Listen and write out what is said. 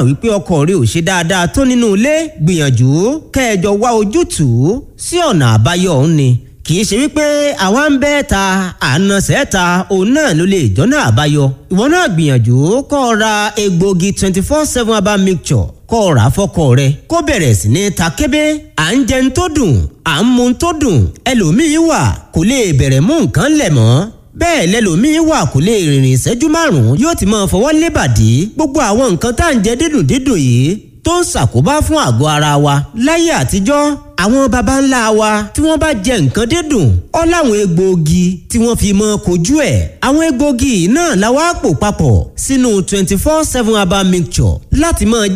mọ̀ wípé ọkọ rẹ ò ṣe dáadáa tó nínú ilé, gbìyànjú kẹjọ wá ojútùú sí ọ̀nà àbáyọ òun ni. Kì í ṣe wípé àwa ń bẹ́ ta àna sẹ́ta òun náà ló lè jọ́nà àbáyọ. Ìwọ náà gbìyànjú kó o ra egbòogi 24/7 herbal mixture, kó o rà fọ́kọ rẹ kó bẹ̀rẹ̀ sí ní ta kébé. À ń jẹun tó dùn, à ń mu tó dùn, ẹlòmíín wà kò lè bẹ̀rẹ̀ mú nǹkan lẹ̀ mọ́. Bẹ́ẹ̀ lẹlòmíín wà kò lè rìnrìn ìṣẹ́jú 5 yóò ti máa fọwọ́ lébàdí. Gbogbo àwọn nǹkan tá à ń jẹ dídùn dídùn yìí tó ń ṣàkóbá fún àgọ́ ara wa. Láyé àtijọ́, àwọn baba ńlá wa tí wọ́n bá jẹ nǹkan dídùn, ó láwọn egbòogi tí wọ́n fi mọ́ kojú ẹ̀. Àwọn egbòogi náà la wá pò papọ̀ sínú 24/7 herbal mixture láti máa